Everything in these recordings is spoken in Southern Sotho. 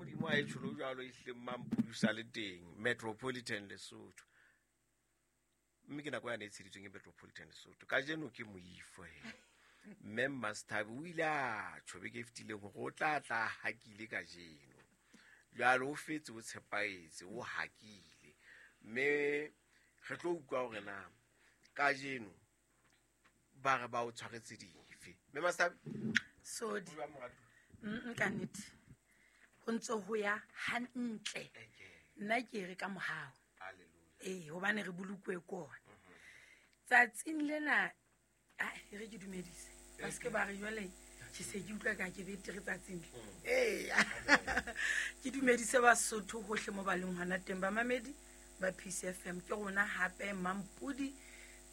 Modimo a e tsholo jwalo e hlileng Mampudi le teng Metropolitan Lesotho. Mme ke nako yane e tsheditsweng ke Metropolitan Lesotho. Kajeno ke moifo he. Mme Mmasethabi o ile a tjho beke e fetileng hore o tla tla hakile kajeno. Jwale o fetse o tshepaetse, o hakile. Mme re tlo utlwa hore na kajeno ba re ba o tshwaretse dife. Mme Mmasethabi, Sodi. o jwang moratuwa? Ka nnete. Ho ntse ho ya hantle. Nna ke re ka mohau. Hallelujah. Ee, hobane re bolokwe ke ona. Tsatsing lena, ai, e re ke dumedise. Ba seke ba re jwale ke se ke utlwa ka ke betere tsatsing le. Ee. Ke dumedise Basotho hohle mo ba leng hona teng, bamamedi ba PCFM. Ke rona hape Mampudi.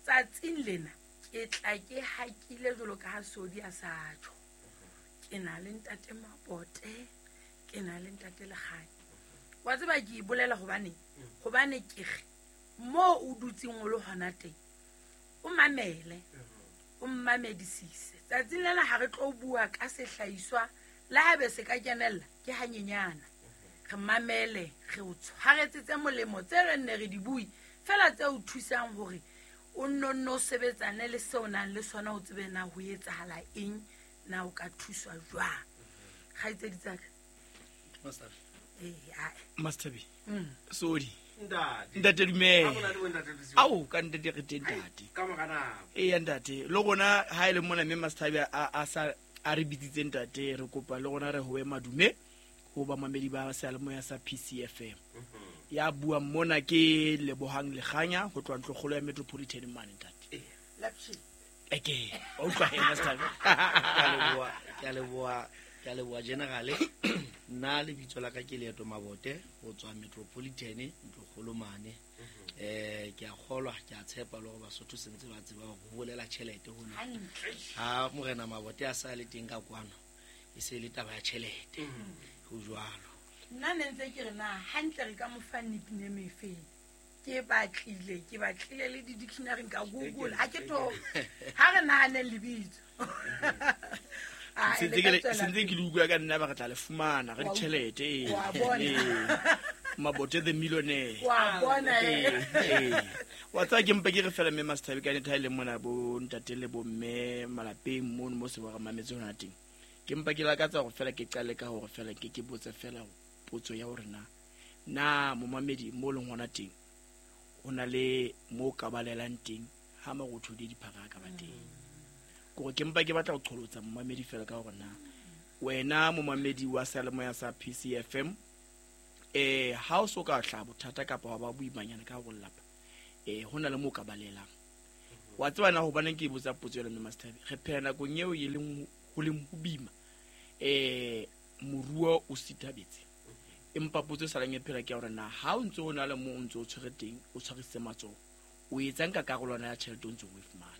Tsatsing lena ke tla ke hakile jwalo ka ha Sodi a sa tjho. Ke na le ntate Mabote, ke na le ntate Lekganya. Wa tseba ke e bolela hobane, hobane ke re moo o dutseng o le hona teng, o mamele, o mmamedisise. Tsatsing lena ha re tlo bua ka sehlahiswa le haebe se ka kenella ke hanyenyana. Re mamele, re o tshwaretse tse molemo tse re nne re di bue, fela tse o thusang hore o nno nno o sebetsane le seo o nang le sona, o tsebe na ho etsahala eng, na o ka thuswa jwang. Kgaitsedi tsa ka. Master. Ee, ae. Master B. Sodi. Ntate. Ntate dumela. Ha mona le ntate Lesiba. Ao, ka ntate re teng ntate. Ka mora nako. Eya ntate, le rona ha e le mona mme Master B a sa a re bitsitse ntate, re kopa le rona re howe madume ho bamamedi ba seyalemoya sa PCFM. Ya buang mona ke Lebohang Lekganya ho tloha ntlokgolo ya Metropolitan mane ntate. Lapshi. Eke, wa utlwa he Master B. Ke a leboha, ke a leboha, ke a leboha General. Nna lebitso la ka ke Leeto Mabote ho tswa Metropolitan ntlokgolo mane. Ke a kgolwa, ke a tshepa le hore Basotho se ntse ba tseba hore ho bolela tjhelete hona. Hantle. Ha Morena Mabote a sa le teng ka kwano, e se le taba ya tjhelete. Ho jwalo. Nna ne ntse ke re na hantle re ka mo fa nickname e feng? Ke batlile, ke batlile le di-dictionary ka Google. Ha ke tho, ha re nahaneng lebitso. Ah, Se le ntse ka ke le- tswela se ntse ke le utlwa ka nna ba re tla le fumana re Wa ditjhelete, ee. wa bona. Ee. Mabote the millionaire. Wa bona, Ee, eh. ee. Wa tseba ke mpe ke re fela mme Master B ka nnete ha e le mona bo ntate le bo mme malapeng mono mo se ba re mametse hona teng. Ke mpa ke lakatsa hore fela ke qale ka hore fela ke ke botse fela potso ya hore na, na momamedi mo leng hona teng ho na le mo ka balelang teng ha marothodi a diphaka a ka ba teng. Kore ke mpa ke batla ho qholotsa momamedi fela ka hore na wena momamedi wa seyalemoya sa PCFM, ha o so ka hlaha bothata kapa wa ba boimanyana ka hore lelapa, ho na le mo ka balelang. Wa tseba na hobaneng ke botsa potso ena, mme Master B? Re phela nakong eo e leng ho leng ho boima, moruo o sithabetse. Empa potso e salang e phela ke ya hore na ha o ntse o na le moo o ntse o tshwere teng, o tshwarisitse matsoho, o etsang ka karolwana ya tjhelete o ntseng o e fumana?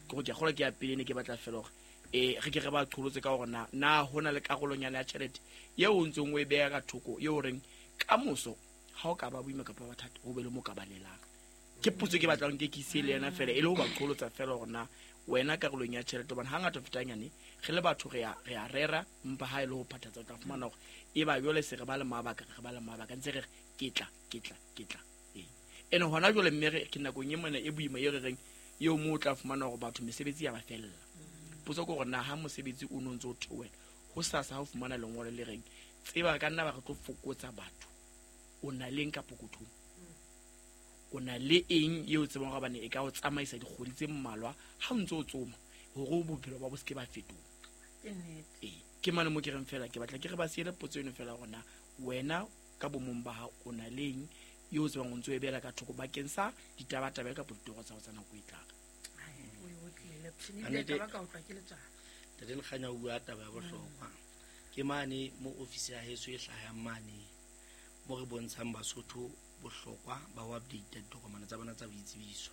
Ke hore ke a kgolwa ke ya pele ne ke batla fela hore, re ke re ba qholotse ka hore na, na ho na le karolonyana ya tjhelete eo o ntseng o e beha ka thoko, eo o reng ka moso ha o ka ba boima kapa ba thata, ho be le mo ka balelang. Ke potso ke batlang ke ke ise le yena fela, e le ho ba qholotsa fela hore na wena karolong ya tjhelete, hobane hangata ho feta hanyane re le batho re a rera, empa ha e le ho phathatsa o tla fumana hore e ba jwale se re ba le mabaka, re ba le mabaka ntse re re ke tla, ke tla, ke tla. Ee. Ene hona jwale mme re ke nakong e mona e boima e re reng eo moo o tla fumana hore batho mesebetsi ya ba fella. Potso ke hore na ha mosebetsi o no ntse o theohela, ho sasa ha o fumana lengolo le reng tseba re ka nna ba re tlo fokotsa batho, o na le eng ka pokothong? O na le eng eo o tsebang hore hobane e ka o tsamaisa dikgwedi tse mmalwa ha o ntse o tsoma hore bophelo ba bo se ke ba fetoha? Ke nnete. Ee, ke mane mo ke reng fela ke batla ke re ba siele potso eno fela hore na wena ka bomong ba hao o na le eng eo o tsebang o ntse o e beela ka thoko bakeng sa ditabatabelo kapa ditoro tsa hao tsa nako e tlang. Ai, o e otlile, Lepshini, Ka ebile nnete. taba ka utlwa ke letswalo. Ntate Lekganya o bua taba ya bohlokwa. Ke mane mo ofisi ya heso e hlahang mane, mo re bontshang Basotho bohlokwa ba ho update ditokomane tsa bona tsa boitsebiso.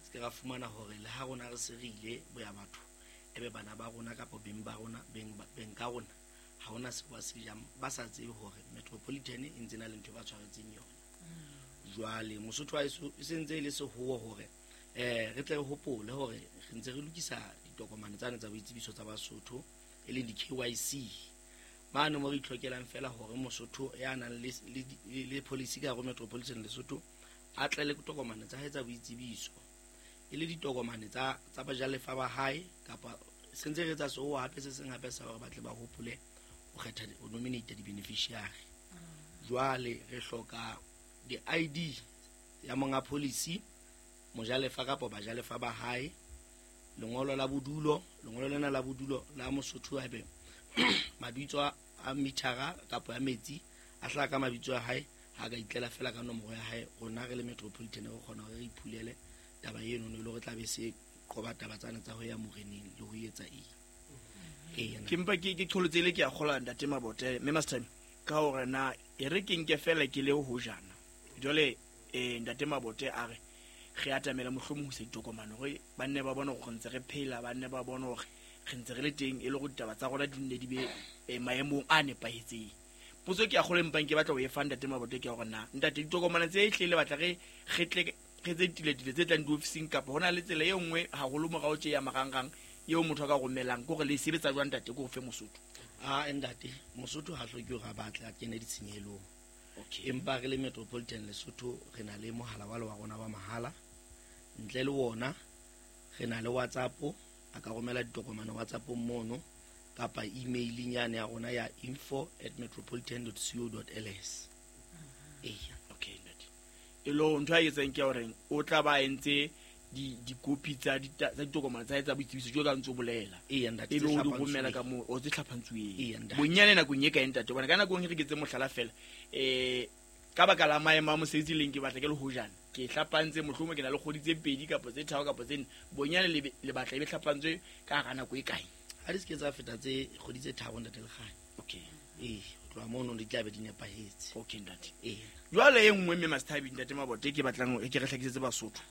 Se ke ra fumana hore le ha rona re se re ile boya batho, ebe bana ba rona kapa beng ba rona, beng ba, beng ka rona, ha hona seo ba se jang, ba sa tsebe hore Metropolitan e ntse na le ntho e ba tshwaretseng yona. Jwale Mosotho wa heso e sentse e le sehoho hore, re tle re hopole hore re ntse re lokisa ditokomane tsane tsa boitsebiso tsa Basotho, e leng di-KYC. Mane mo re itlhokelang fela hore Mosotho ya nang le policy ka hare ho Metropolitan Lesotho a tle le tokomane tsa hae tsa boitsebiso, e le ditokomane tsa bajalefa ba hae, kapa sentse re etsa seo hape se seng hape sa hore ba tle ba hopole ho kgetha ho nominate di-beneficiary. Jwale re hloka di-ID ya monga policy, mojalefa kapa bajalefa ba hae, lengolo la bodulo, lengolo lena la bodulo la Mosotho haebe mabitso a mithara kapa ya metsi a hlaha ka mabitso a hae, ha ka itlela fela ka nomoro ya hae, rona re le Metropolitan re kgona hore re iphulele taba eno, e le hore tla be se qoba taba tsane tsa ho ya moreneng le ho etsa eng. Ke mpa ke qholotse ile ke a kgola ntate Mabote mme Master ka hore na e re ke nke fela ke le ho jana. Jwale ntate Mabote a re re atamela mohlomong ho se ditokomane hore ba nne ba bone hore re ntse re phela, ba nne ba bone hore re ntse re le teng, e le hore ditaba tsa rona di nne di be maemong a nepahetseng. Potso ke a kgolo empang ke batla ho e fa ntate Mabote ke hore na ntate ditokomane tse hle le batla re tle re tse tiletile tse tlang diofising, kapa hona le tsela e nngwe haholo morao tje ya marangrang eo motho a ka romelang, ke hore le sebetsa jwang ntate, ke ho fe Mosotho? A ntate, Mosotho ha hloke hore a batle a kene ditshenyehelong. Empa re le Metropolitan Lesotho re na le mohala wa rona wa mahala, ntle le wona re na le WhatsApp, a ka romela ditokomane WhatsApp mono kapa emailing yane ya rona ya info@metropolitan.co.ls. Eya. Okay ntate. E lo ntho a etsang ke hore o tla ba entse dikopi tsa ditokomane tsa etsa boitsebiso jo ka ntse o bolela. Eya ntate, e be o di romela ka moo o tse hlapantsuweng. Eya ntate. Bonyane nakong e kae ntate, hobane ka nako e re ke tse mohlala fela, ka baka la maemo a mosebetsi leng ke batla ke le hojana, ke hlapantse mohlomong ke na le kgwedi tse 2 kapa tse 3 kapa tse 4, bonyane le batla e be hlapantswe ka hara nako e kae? Ha di se ke tsa feta tse kgwedi tse 3 ntate Lekganya. Okay. Ee, ho tloha mono di tla be di nepahetse. Okay ntate. Ee. Jwale e nngwe mme Master ntate Mabote ke batlang ke re hlakisetse Basotho.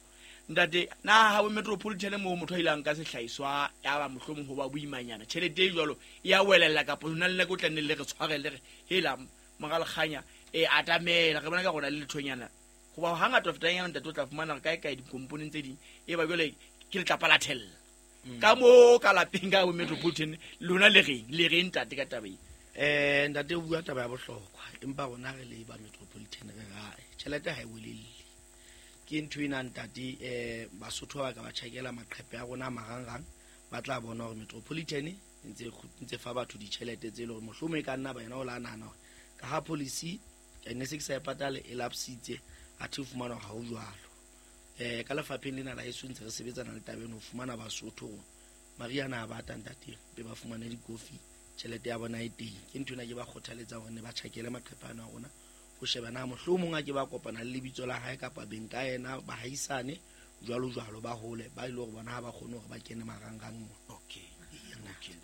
Ntate, na ha bo Metropolitan moo motho a ilang ka sehlahiswa ya ba mohlomong ho ba boimanyana, tjhelete e jwalo ya welella kapa hona le nako o tla nne le re tshwarele re hela mora Lekganya, atamela re bona ka rona le lethonyana. Hoba hangata ho fetang yana ntate o tla fumana re kae kae dikomponeng tse ding e ba jwale ke letlapa la thella. Ka moo ka lapeng ka bo Metropolitan lona le reng, le reng ntate ka taba e? Ntate o bua taba ya bohlokwa, empa rona re le ba Metropolitan re rae tjhelete ha e welelle. Ke ntho ena ntate, Basotho ba ka ba tjhakela maqhepe a rona a marangrang, ba tla bona hore Metropolitan e ntse fa batho ditjhelete tse leng hore mohlomong e ka nna ba yena o la nahana hore ka ha policy ne se ke sa e patale e lapsitse, athe o fumana hore ha ho jwalo. Ka lefapheng lena la heso ntse re sebetsana le taba eno ho fumana Basotho hore mariana a bata ntate be ba fumane dikofi, tjhelete ya bona e teng. Ke ntho ena ke ba kgothaletsang hore ne ba tjhakele maqhepe ana a rona ho sheba na mohlomong a ke ba kopana le lebitso la hae kapa beng ka yena, bahaisane jwalo jwalo, ba hole ba ile hore bona ha ba kgone hore ba kene marangrang mona. Okay. Eya, Okay.